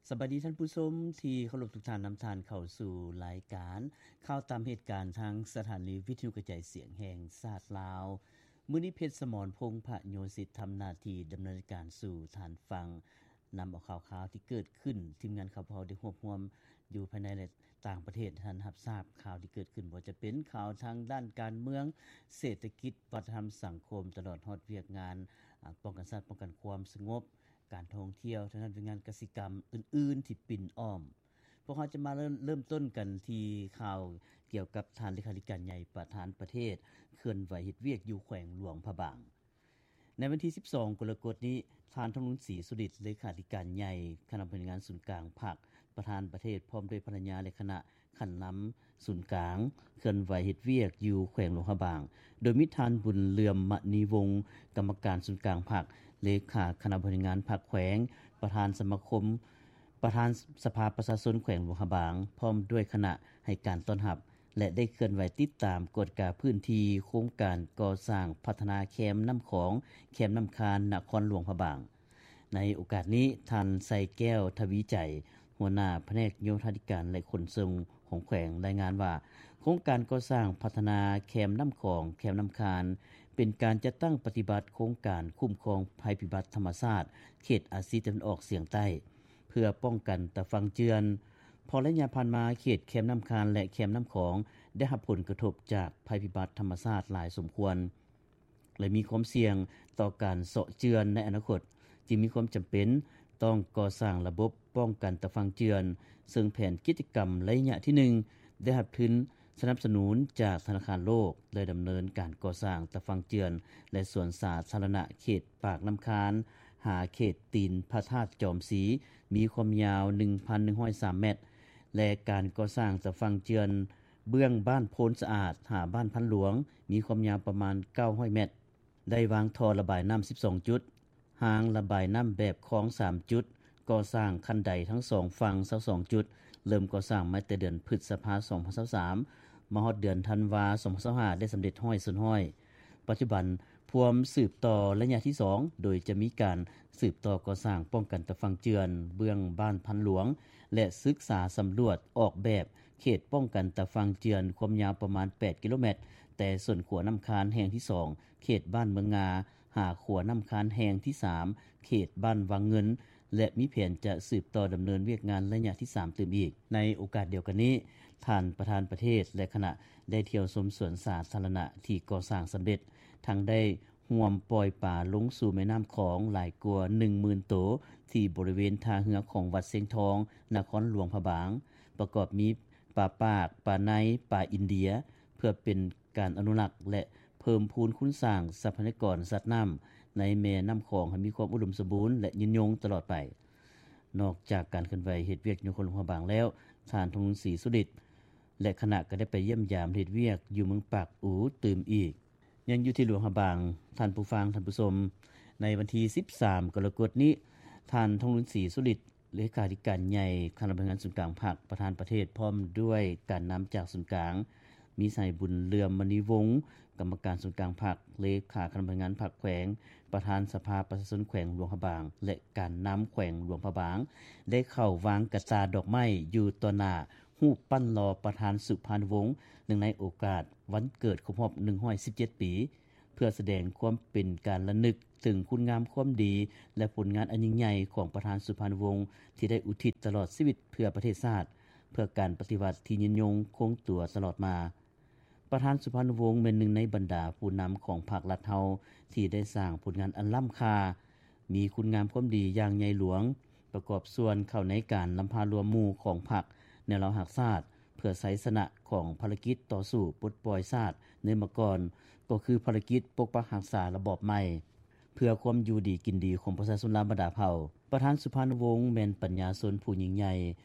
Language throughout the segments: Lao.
ສະບາຍດີທ່ານຜູ້ຊົມທີ່ເຄົາລົບທຸກທ່ານ, ນຳທ່ານເຂົ້າສູ່ລາຍການຂ່າວຕາມເຫດການທາງສະຖານີວິທະຍຸກະຈາຍສຽງແຫ່ງຊາດລາວ. ມື້ນີ້ ເພັດສະໝອນ ພົງພະໂຍສິດ ທຳໜ້າທີ່ດຳເນີນການສູ່ທ່ານຟັງ, ນຳເອົາຂ່າວຄາວທີ່ເກີດຂຶ້ນ, ທີມງານຂ່າວພວກເຮົາໄດ້ຮວບຮວມຢູ່ພາຍໃນ ແລະ ຕ່າງປະເທດໃຫ້ທ່ານຮັບຊາບຂ່າວທີ່ເກີດຂຶ້ນ, ບໍ່ວ່າຈະເປັນຂ່າວທາງດ້ານການເມືອງ, ເສດຖະກິດ, ວັດທະນະທຳ, ສັງຄົມ, ຕະຫຼອດຮອດວຽກງານ ອາ ປ້ອງກັນຊາດ, ປ້ອງກັນຄວາມສະຫງົບ, ການທ່ອງທ່ຽວ, ທາງດ້ານວຽກງານກະສິກຳອື່ນໆທີ່ປິ່ນອ້ອມ. ພວກເຮົາຈະມາເລີ່ມ ເລີ່ມຕົ້ນກັນທີ່ຂ່າວກ່ຽວກັບທ່ານເລຂາທິການໃຫຍ່ປະທານປະເທດ ເຄື່ອນໄຫວເຮັດວຽກຢູ່ແຂວງຫຼວງພະບາງ. ໃນວັນທີສິບສອງ ກໍລະກົດນີ້, ທ່ານ ທອງລຸນ ສີສຸລິດ ເລຂາທິການໃຫຍ່ຄະນະບໍລິຫານງານສູນກາງພັກ, ປະທານປະເທດ ພ້ອມດ້ວຍພັນລະຍາ ແລະ ຄະນະຂັ້ນນຳສູນກາງ ເຄື່ອນໄຫວເຮັດວຽກຢູ່ແຂວງຫຼວງພະບາງ, ໂດຍມີທ່ານ ບຸນເຫຼື່ອມ ມະນີວົງ ກຳມະການສູນກາງພັກ, ເລຂາຄະນະບໍລິຫານງານພັກແຂວງ, ປະທານສະມາຄົມ ປະທານສະພາປະຊາຊົນແຂວງຫຼວງພະບາງ ພ້ອມດ້ວຍຄະນະໃຫ້ການຕ້ອນຮັບ ແລະ ໄດ້ເຄື່ອນໄຫວຕິດຕາມກວດກາພື້ນທີ່ໂຄງການກໍ່ສ້າງພັດທະນາແຄມນ້ຳຂອງ, ແຄມນ້ຳຄານ ນະຄອນຫຼວງພະບາງ. ໃນໂອກາດນີ້, ທ່ານ ໄຊແກ້ວ ທະວີໄຈ ຫົວໜ້າພະແນກໂຍທາທິການ ແລະ ຂົນສົ່ງຂອງແຂວງ ລາຍງານວ່າ ໂຄງການກໍ່ສ້າງພັດທະນາແຄມນ້ຳຂອງ, ແຄມນ້ຳຄານ ເປັນການຈັດຕັ້ງປະຕິບັດໂຄງການຄຸ້ມຄອງໄພພິບັດທຳມະຊາດ ເຂດອາຊີຕາເວັນອອກສຽງໃຕ້ ເພື່ອປ້ອງກັນຕາຝັ່ງເຈື່ອນ, ເພາະໄລຍະຜ່ານມາ ເຂດແຄມນ້ຳຄານ ແລະ ແຄມນ້ຳຂອງ ໄດ້ຮັບຜົນກະທົບຈາກໄພພິບັດທຳມະຊາດຫຼາຍສົມຄວນ ແລະ ມີຄວາມສ່ຽງຕໍ່ການເຊາະເຈື່ອນໃນອະນາຄົດ, ຈຶ່ງມີຄວາມຈຳເປັນຕ້ອງກໍ່ສ້າງລະບົບປ້ອງກັນຕາຝັ່ງເຈື່ອນ, ເຊິ່ງແຜນກິດຈະກຳໄລຍະທີໜຶ່ງ ໄດ້ຮັບທຶນສະໜັບສະໜູນຈາກທະນາຄານໂລກ ແລະ ດຳເນີນການກໍ່ສ້າງຕາຝັ່ງເຈື່ອນ ແລະ ສວນສາທາລະນະເຂດປາກນ້ຳຄານ ຫາເຂດຕີນພະທາດຈອມສີ ມີຄວາມຍາວໜຶ່ງພັນໜຶ່ງຮ້ອຍສາມແມັດ ແລະ ການກໍ່ສ້າງຕາຝັ່ງເຈື່ອນເບື້ອງບ້ານໂພນສະອາດ ຫາບ້ານພັນຫຼວງ ມີຄວາມຍາວປະມານເກົ້າຮ້ອຍແມັດ, ໄດ້ວາງທໍ່ລະບາຍນ້ຳສິບສອງຈຸດ, ຮາງລະບາຍນ້ຳແບບຄອງສາມຈຸດ, ກໍ່ສ້າງຄັນໄດທັງສອງຝັ່ງຊາວສອງຈຸດ, ເລີ່ມກໍ່ສ້າງມາແຕ່ເດືອນພຶດສະພາ ສອງພັນຊາວສາມ ມາຮອດເດືອນທັນວາ ສອງພັນຊາວຫ້າ ໄດ້ສຳເລັດຮ້ອຍສ່ວນຮ້ອຍ. ປັດຈຸບັນພວມສືບຕໍ່ໄລຍະທີສອງ ໂດຍຈະມີການສືບຕໍ່ກໍ່ສ້າງປ້ອງກັນຕາຝັ່ງເຈື່ອນເບື້ອງບ້ານພັນຫຼວງ ແລະ ສຶກສາສຳຫຼວດອອກແບບເຂດປ້ອງກັນຕາຝັ່ງເຈື່ອນ ຄວາມຍາວປະມານແປດກິໂລແມັດ ແຕ່ສວນຂົວນ້ຳຄານແຫ່ງທີສອງ ເຂດບ້ານເມືອງງາ ຫາຂົວນ້ຳຄານແຫ່ງທີສາມ ເຂດບ້ານວັງເງິນ ແລະ ມີແຜນຈະສືບຕໍ່ດຳເນີນວຽກງານໄລຍະທີສາມຕື່ມອີກ. ໃນໂອກາດດຽວກັນນີ້, ທ່ານປະທານປະເທດ ແລະ ຄະນະໄດ້ທ່ຽວຊົມສວນສາທາລະນະທີ່ກໍ່ສ້າງສຳເລັດ, ທັງໄດ້ຮ່ວມປ່ອຍປາລົງສູ່ແມ່ນ້ຳຂອງຫຼາຍກວ່າໜຶ່ງໝື່ນໂຕ ທີ່ບໍລິເວນທ່າເຮືອຂອງວັດຊຽງທອງ ນະຄອນຫຼວງພະບາງ, ປະກອບມີປາປາກ, ປາໄນ, ປາອິນເດຍ ເພື່ອເປັນ ການອະນຸລັກ ແລະ ເພີ່ມພູນຄູນສ້າງຊັບພະຍາກອນສັດນ້ຳໃນແມ່ນ້ຳຂອງໃຫ້ມີຄວາມອຸດົມສົມບູນ ແລະ ຍືນຍົງຕະຫຼອດໄປ. ນອກຈາກການເຄື່ອນໄຫວເຮັດວຽກຢູ່ນະຄອນຫຼວງພະບາງແລ້ວ, ທ່ານ ທອງລຸນ ສີສຸລິດ ແລະ ຄະນະກໍໄດ້ໄປຢ້ຽມຢາມເຮັດວຽກຢູ່ເມືອງປາກອູຕື່ມອີກ. ຍັງຢູ່ທີ່ຫຼວງພະບາງ, ທ່ານຜູ້ຟັງ, ທ່ານຜູ້ຊົມ, ໃນວັນທີສິບສາມ ກໍລະກົດນີ້, ທ່ານ ທອງລຸນ ສີສຸລິດ ເລຂາທິການໃຫຍ່ຄະນະບໍລິຫານງານສູນກາງພັກ, ປະທານປະເທດ ພ້ອມດ້ວຍການນຳຈາກສູນກາງ, ມີສະຫາຍ ບຸນເຫຼື່ອມ ມະນີວົງ ກຳມະການສູນກາງພັກ, ເລຂາຄະນະບໍລິຫານງານພັກແຂວງ, ປະທານສະພາປະຊາຊົນແຂວງຫຼວງພະບາງ ແລະ ການນຳແຂວງຫຼວງພະບາງ ໄດ້ເຂົ້າວາງກະຕ່າດອກໄມ້ຢູ່ຕໍ່ໜ້າຮູບປັ້ນຫຼໍ່ປະທານສຸພານຸວົງ ເນື່ອງໃນໂອກາດວັນເກີດຄົບຮອບໜຶ່ງຮ້ອຍສິບເຈັດປີ. ເພື່ອສະແດງຄວາມເປັນການລະນຶກເຖິງຄຸນງາມຄວາມດີ ແລະ ຜົນງານອັນຍິ່ງໃຫຍ່ຂອງປະທານສຸພານຸວົງ ທີ່ໄດ້ອຸທິດຕະຫຼອດຊີວິດເພື່ອປະເທດຊາດ, ເພື່ອການປະຕິວັດທີ່ຍືນຍົງຄົງຕົວຕະຫຼອດມາ. ປະທານສຸພານຸວົງແມ່ນໜຶ່ງໃນບັນດາຜູ້ນຳຂອງພັກລັດເຮົາ ທີ່ໄດ້ສ້າງຜົນງານອັນລ້ຳຄ່າ, ມີຄຸນງາມຄວາມດີຢ່າງໃຫຍ່ຫຼວງ, ປະກອບສ່ວນເຂົ້າໃນການນຳພາລວມໝູ່ຂອງພັກແນວລາວຮັກຊາດ ເພື່ອໄຊຊະນະຂອງພາລະກິດຕໍ່ສູ້ປົດປ່ອຍຊາດໃນເມື່ອກ່ອນ, ກໍຄືພາລະກິດປົກປັກຮັກສາລະບອບໃໝ່ ເພື່ອຄວາມຢູ່ດີກິນດີຂອງປະຊາຊົນລາວບັນດາເຜົ່າ. ປະທານສຸພານຸວົງແມ່ນປັນຍາຊົນຜູ້ຍິ່ງໃຫຍ່,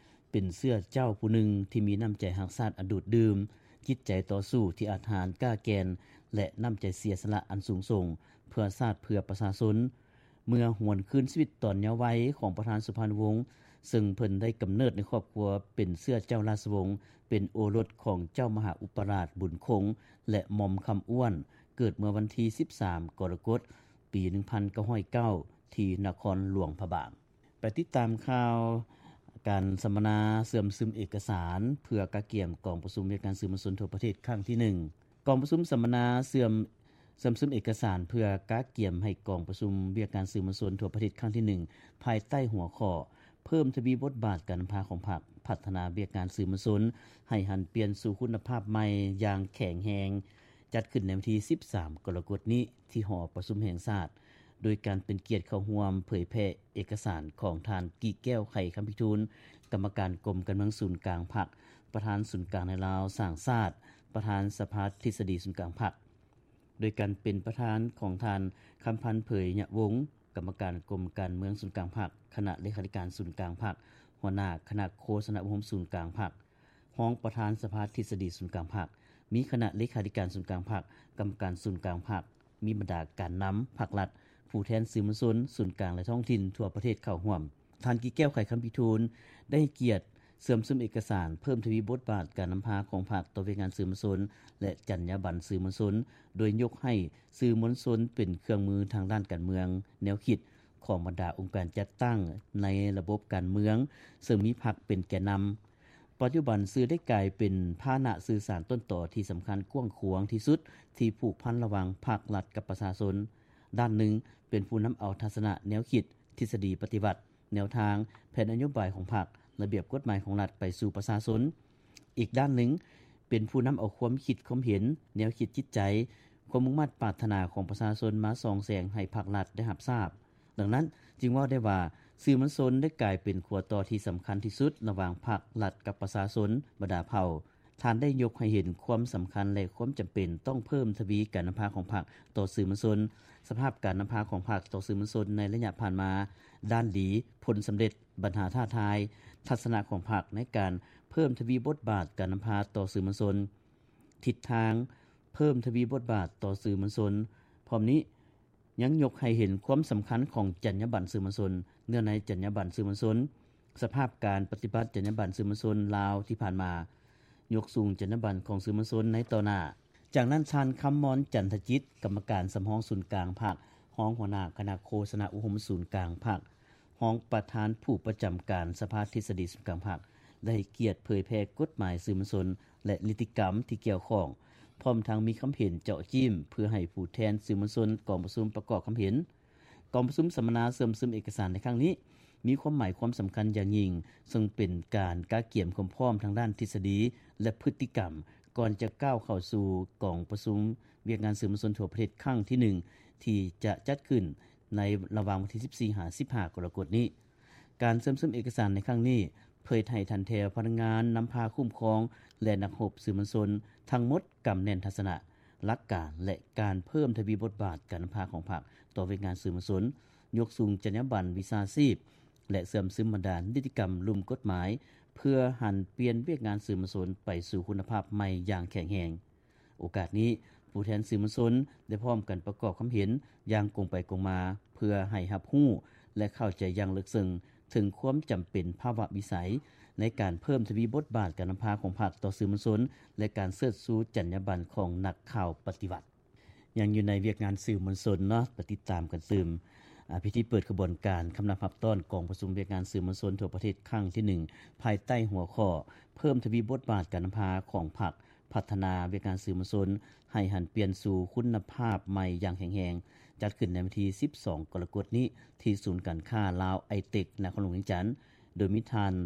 ເປັນເຊື້ອເຈົ້າຜູ້ໜຶ່ງທີ່ມີນ້ຳໃຈຮັກຊາດອັນດູດດື່ມ, ຈິດໃຈຕໍ່ສູ້ທີ່ອາດຫານກ້າແກ່ນ ແລະ ນ້ຳໃຈເສຍສະຫຼະອັນສູງສົ່ງ ເພື່ອຊາດເພື່ອປະຊາຊົນ. ເມື່ອຫວນຄືນຊີວິດຕອນເຍົາໄວຂອງປະທານສຸພານຸວົງ, ເຊິ່ງເພິ່ນໄດ້ກຳເນີດໃນຄອບຄົວເປັນເຊື້ອເຈົ້າລາຊະວົງ, ເປັນໂອລົດຂອງເຈົ້າມະຫາອຸປະລາດບຸນຄົງ ແລະ ໝ່ອມຄຳອ້ວນ, ເກີດເມື່ອວັນທີສິບສາມ ກໍລະກົດ ປີໜຶ່ງພັນເກົ້າຮ້ອຍເກົ້າ ທີ່ນະຄອນຫຼວງພະບາງ. ໄປຕິດຕາມຂ່າວ ການສຳມະນາເຊື່ອມຊຶມເອກະສານ ເພື່ອກະກຽມກອງປະຊຸມວຽກງານສື່ມວນຊົນທົ່ວປະເທດຄັ້ງທີໜຶ່ງ. ກອງປະຊຸມສຳມະນາເຊື່ອມ ເຊື່ອມຊຶມເອກະສານ ເພື່ອກະກຽມໃຫ້ກອງປະຊຸມວຽກງານສື່ມວນຊົນທົ່ວປະເທດຄັ້ງທີໜຶ່ງ ພາຍໃຕ້ຫົວຂໍ້ ເພີ່ມທະວີບົດບາດການນຳພາຂອງພັກ, ພັດທະນາວຽກງານສື່ມວນຊົນໃຫ້ຫັນປ່ຽນສູ່ຄຸນນະພາບໃໝ່ຢ່າງແຂງແຮງ ຈັດຂຶ້ນໃນວັນທີສິບສາມ ກໍລະກົດນີ້ ທີ່ຫໍປະຊຸມແຫ່ງຊາດ, ໂດຍການເປັນກຽດເຂົ້າຮ່ວມເຜີຍແຜ່ເອກະສານຂອງທ່ານ ກີແກ້ວ ໄຂຄຳພິທູນ, ກຳມະການກົມການເມືອງສູນກາງພັກ, ປະທານສູນກາງນາຍລາວສ້າງຊາດ, ປະທານສະພາທິດສະດີສູນກາງພັກ, ໂດຍການເປັນປະທານຂອງທ່ານ ຄຳພັນ ເຜີຍຍະວົງ, ກຳມະການກົມການເມືອງສູນກາງພັກ, ຄະນະເລຂາທິການສູນກາງພັກ, ຫົວໜ້າຄະນະໂຄສະນາອົບຮົມສູນກາງພັກ, ຮອງປະທານສະພາທິດສະດີສູນກາງພັກ, ມີຄະນະເລຂາທິການສູນກາງພັກ, ກຳມະການສູນກາງພັກ, ມີບັນດາການນຳພັກລັດ, ຜູ້ແທນສື່ມວນຊົນສູນກາງ ແລະ ທ້ອງຖິ່ນທົ່ວປະເທດເຂົ້າຮ່ວມ. ທ່ານ ກີແກ້ວ ໄຂຄຳພິທູນ ໄດ້ໃຫ້ກຽດເຊື່ອມຊຶມເອກະສານເພີ່ມທະວີບົດບາດການນຳພາຂອງພັກຕໍ່ວຽກງານສື່ມວນຊົນ ແລະ ຈັນຍາບັນສື່ມວນຊົນ, ໂດຍຍົກໃຫ້ສື່ມວນຊົນເປັນເຄື່ອງມືທາງດ້ານການເມືອງ, ແນວຄິດຂອງບັນດາອົງການຈັດຕັ້ງໃນລະບົບການເມືອງ, ເຊິ່ງມີພັກເປັນແກນນຳ. ປັດຈຸບັນ ສື່ໄດ້ກາຍເປັນພາຫະນະສື່ສານຕົ້ນຕໍທີ່ສຳຄັນກວ້າງຂວາງທີ່ສຸດ ທີ່ຜູກພັນລະຫວ່າງພັກລັດກັບປະຊາຊົນ. ດ້ານໜຶ່ງ ເປັນຜູ້ນຳເອົາທັດສະນະແນວຄິດ, ທິດສະດີປະຕິວັດ, ແນວທາງ, ແຜນນະໂຍບາຍຂອງພັກ, ລະບຽບກົດໝາຍຂອງລັດໄປສູ່ປະຊາຊົນ. ອີກດ້ານໜຶ່ງ ເປັນຜູ້ນຳເອົາຄວາມຄິດຄວາມເຫັນ, ແນວຄິດຈິດໃຈ, ຄວາມມຸ່ງມາດປາດຖະໜາຂອງປະຊາຊົນມາສ່ອງແສງໃຫ້ພັກລັດໄດ້ຮັບຊາບ. ດັ່ງນັ້ນ ຈຶ່ງເວົ້າໄດ້ວ່າ ສື່ມວນຊົນໄດ້ກາຍເປັນຂົວຕໍ່ທີ່ສຳຄັນທີ່ສຸດລະຫວ່າງພັກລັດກັບປະຊາຊົນ, ບັນດາເຜົ່າ. ທ່ານໄດ້ຍົກໃຫ້ເຫັນຄວາມສຳຄັນ ແລະ ຄວາມຈຳເປັນຕ້ອງເພີ່ມທະວີການນຳພາຂອງພັກຕໍ່ສື່ມວນຊົນ, ສະພາບການນຳພາຂອງພັກຕໍ່ສື່ມວນຊົນໃນໄລຍະຜ່ານມາ, ດ້ານດີ, ຜົນສຳເລັດ, ບັນຫາທ້າທາຍ, ທັດສະນະຂອງພັກໃນການເພີ່ມທະວີບົດບາດການນຳພາຕໍ່ສື່ມວນຊົນ, ທິດທາງເພີ່ມທະວີບົດບາດຕໍ່ສື່ມວນຊົນ. ພ້ອມນີ້ ຍັງຍົກໃຫ້ເຫັນຄວາມສຳຄັນຂອງຈັນຍາບັນສື່ມວນຊົນ, ເນື້ອໃນຈັນຍາບັນສື່ມວນຊົນ, ສະພາບການປະຕິບັດຈັນຍາບັນສື່ມວນຊົນລາວທີ່ຜ່ານມາ, ຍົກສູງຈັນຍາບັນຂອງສື່ມວນຊົນໃນຕໍ່ໜ້າ. ຈາກນັ້ນ ທ່ານ ຄຳມອນ ຈັນທະຈິດ, ກຳມະການສຳຮອງສູນກາງພັກ, ຮອງຫົວໜ້າຄະນະໂຄສະນາອົບຮົມສູນກາງພັກ, ຮອງປະທານຜູ້ປະຈຳການສະພາທິດສະດີສູນກາງພັກ ໄດ້ໃຫ້ກຽດເຜີຍແຜ່ກົດໝາຍສື່ມວນຊົນ ແລະ ນິຕິກຳທີ່ກ່ຽວຂ້ອງ, ພ້ອມທັງມີຄຳເຫັນເຈາະຈີ້ມ ເພື່ອໃຫ້ຜູ້ແທນສື່ມວນຊົນກອງປະຊຸມປະກອບຄຳເຫັນ. ກອງປະຊຸມສຳມະນາເຊື່ອມຊຶມເອກະສານໃນຄັ້ງນີ້ ມີຄວາມໝາຍຄວາມສຳຄັນຢ່າງຍິ່ງ, ເຊິ່ງເປັນການກະກຽມຄວາມພ້ອມທາງດ້ານທິດສະດີ ແລະ ພຶດຕິກຳ ກ່ອນຈະກ້າວເຂົ້າສູ່ກອງປະຊຸມວຽກງານສື່ມວນຊົນທົ່ວປະເທດຄັ້ງທີໜຶ່ງ ທີ່ຈະຈັດຂຶ້ນໃນລະຫວ່າງວັນທີສິບສີ່ ຫາ ສິບຫ້າ ກໍລະກົດນີ້. ການເຊື່ອມຊຶມເອກະສານໃນຄັ້ງນີ້ ເຜີຍແຜ່ໃຫ້ທັນແຖວພະນັກງານນຳພາຄຸ້ມຄອງ ແລະ ນັກຮົບສື່ມວນຊົນທັງໝົດກຳແໜ້ນທັດສະນະ, ຫຼັກການ ແລະ ການເພີ່ມທະວີບົດບາດການນຳພາຂອງພັກຕໍ່ວຽກງານສື່ມວນຊົນ, ຍົກສູງຈັນຍາບັນວິຊາຊີບ ແລະ ເຊື່ອມຊຶມບັນດານິຕິກຳລຸ່ມກົດໝາຍ ເພື່ອຫັນປ່ຽນວຽກງານສື່ມວນຊົນໄປສູ່ຄຸນນະພາບໃໝ່ຢ່າງແຂງແຮງ. ໂອກາດນີ້ ຜູ້ແທນສື່ມວນຊົນໄດ້ພ້ອມກັນປະກອບຄຳເຫັນຢ່າງກົງໄປກົງມາ ເພື່ອໃຫ້ຮັບຮູ້ ແລະ ເຂົ້າໃຈຢ່າງເລິກເຊິ່ງເຖິງຄວາມຈຳເປັນພາວະວິໄສໃນການເພີ່ມທະວີບົດບາດການນຳພາຂອງພັກຕໍ່ສື່ມວນຊົນ ແລະ ການເຊີດຊູຈັນຍາບັນຂອງນັກຂ່າວປະຕິວັດ. ຍັງຢູ່ໃນວຽກງານສື່ມວນຊົນເນາະ, ໄປຕິດຕາມກັນຕື່ມ. ອາ, ພິທີເປີດຂະບວນການຄຳນັບຮັບຕ້ອນກອງປະຊຸມວຽກງານສື່ມວນຊົນທົ່ວປະເທດຄັ້ງທີໜຶ່ງ ພາຍໃຕ້ຫົວຂໍ້ ເພີ່ມທະວີບົດບາດການນຳພາຂອງພັກ, ພັດທະນາວຽກງານສື່ມວນຊົນໃຫ້ຫັນປ່ຽນສູ່ຄຸນນະພາບໃໝ່ຢ່າງແຂງແຮງ, ຈັດຂຶ້ນໃນວັນທີສິບສອງ ກໍລະກົດນີ້ ທີ່ສູນການຄ້າລາວໄອເຕັກ ນະຄອນຫຼວງວຽງຈັນ, ໂດຍມີທ່ານ